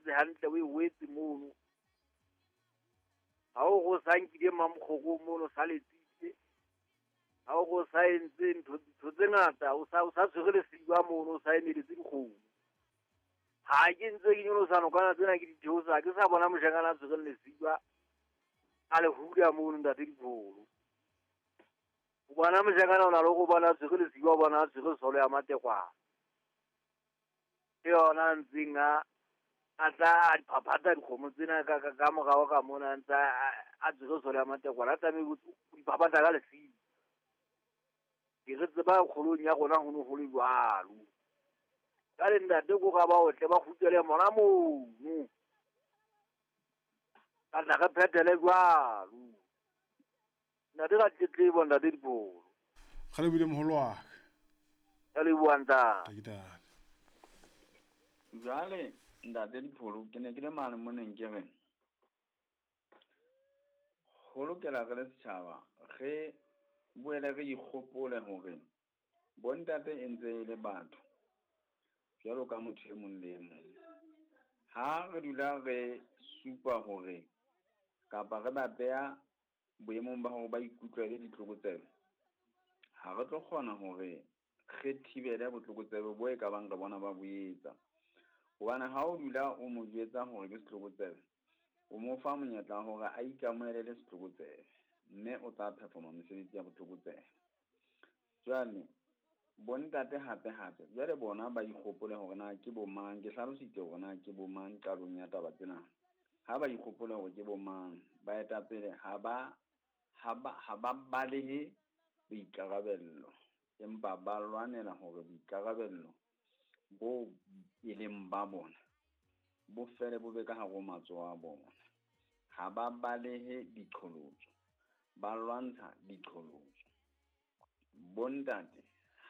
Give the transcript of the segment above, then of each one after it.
entse hantle o e wetse mono. Ha o go sa nkile mamokgoko mono sa letsitse. Ha o go sa entse ntho tse ngata o sa tshwere lesiba mono o sa emeletse dikgomo. Ha ke ntse ke nyolosa nokana tsena ke di theosa ke sa bona moshanyana a tshwereng lesiba a le hula mono ntate Dipholo. O bona moshanyana o na le go bona a tshwere lesiba o bona a tshwere solo ya matekwane. Ke yona a ntseng a tla a diphaphatha dikgomo tsena ka morao ka mona a ntse a tshwere solo ya matekwane a tlameha ho diphaphatha ka lesiba. Ke re tseba kgolong ya rona ho ne ho le jwalo. Jwale ntate ko ra ba otle ba kgutlele mona mono. Ka tla re phethele jwalo. Ntate ka tletlebo ntate Dipholo. Re lebohile moholo wa ka. Ka leboha ntate. Ntate. Jwale ntate Dipholo ke ne ke le mane moneng ke re ho lokela re le setjhaba re boele re ikgopole hore bontate e ntse e le batho jwalo ka motho e mong le e mong. Ha re dula re supa hore kapa re ba beha boemong ba hore ba ikutlwele ditlokotsebe, ha re tlo kgona hore re thibele botlokotsebe bo e ka bang re bona ba bo etsa. Hobane ha o dula o mo jwetsa hore ke setlokotsebe, o mo fa monyetla wa hore a ikamohele le setlokotsebe, mme o tla performa mesebetsi ya botlokotsebe. Jwale bontate hape hape jwale bona ba ikgopole hore na ke bo mang, ke hlalositse hore na ke bo mang qalong ya taba tsena. Ha ba ikgopole hore ke bo mang, baetapele ha ba balehe boikarabello, empa ba lwanela hore boikarabello bo e leng ba bona bo fele bo be ka hare ho matsoho a bona. Ha ba balehe diqholotso, ba lwantsha diqholotso. Bontate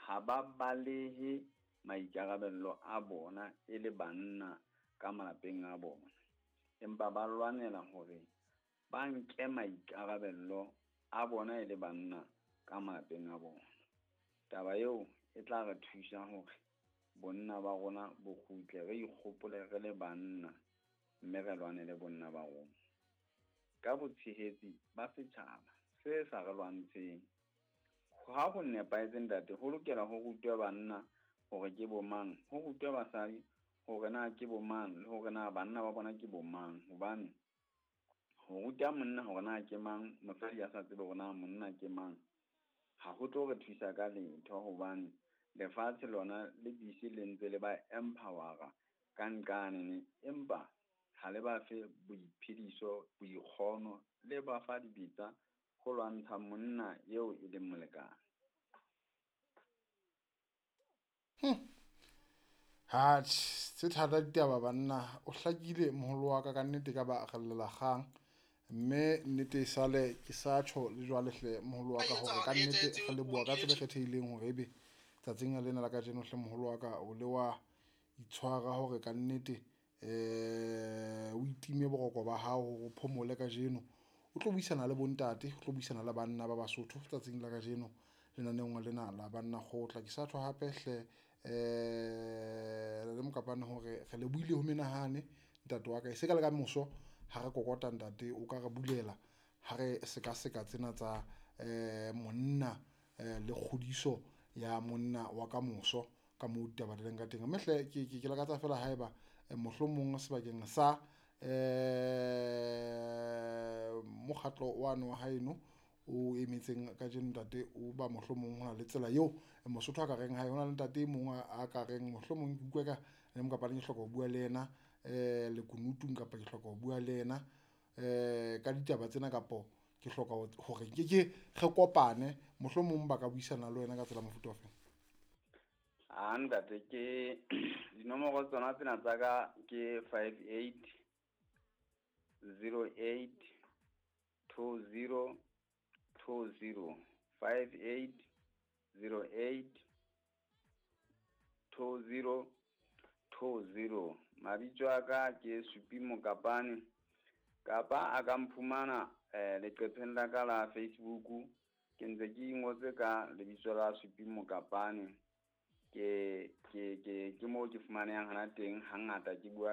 ha ba balehe maikarabello a bona e le banna ka malapeng a bona, empa ba lwanela hore ba nke maikarabello a bona e le banna ka malapeng a bona. Taba eo e tla re thusa hore bonna ba rona bo kgutle, re ikgopole re le banna mme re lwanele bonna ba rona ka botshehetsi ba setjhaba se sa re lwantsheng. Ha ho nepahetse ntate, ho lokela ho rutwe banna hore ke bo mang, ho rutwe basadi hore na ke bo mang, le hore na banna ba bona ke bo mang. Hobane ho ruta monna hore na ke mang, mosadi a sa tsebe hore na monna ke mang, ha ho tlo re thusa ka letho. Hobane lefatshe lona le busy le ntse le ba empower-a ka nqane, empa ha le ba fe boiphediso, boikgono, le ba fa dibetsa ho lwantsha monna eo e leng molekane. Ha tse thata ditaba banna, o hlakile moholo wa ka ka nnete ka ba rellela kgang. Mme nnete e sale ke sa tjho le jwale hle moholo wa ka hore ka nnete re leboha ka tsela e kgethehileng hore ebe tsatsing lena la kajeno hle moholo wa ka o le wa itshwara hore ka nnete o itime boroko ba hao hore o phomole kajeno. O tlo buisana le bontate, o tlo buisana le banna ba Basotho tsatsing la kajeno lenaneong lena la Banna Kgotla. Ke sa tjho hape hle le Mokapane hore re lebohile ho menahane ntate wa ka, e se ka le ka moso ha re kokota ntate o ka re bulela ha re sekaseka tsena tsa monna le kgodiso ya monna wa ka moso ka moo ditaba di leng ka teng. Mme hle ke lakatsa feela haeba mohlomong sebakeng sa mokgatlo wane wa haeno o emetseng kajeno ntate o ba mohlomong ho na le tsela eo Mosotho a ka reng hae, ho na le ntate e mong a ka reng mohlomong ke utlwe ka le Mokapane ke hloka ho bua le yena lekunutung kapa ke hloka ho bua le yena ka ditaba tsena kapo ke hloka hore ke re kopane, mohlomong ba ka buisana le wena ka tsela mofuta ofe? A ntate, ke dinomoro tsona tsena tsa ka ke 58 08 20 20, 58 08 20 20. Mabitso a ka ke Supi Mokapane, kapa a ka mphumana leqepheng la ka la Facebook. Ke ntse ke ingotse ka lebitso la Supi Mokapane. Ke moo ke fumanehang hana teng hangata ke bua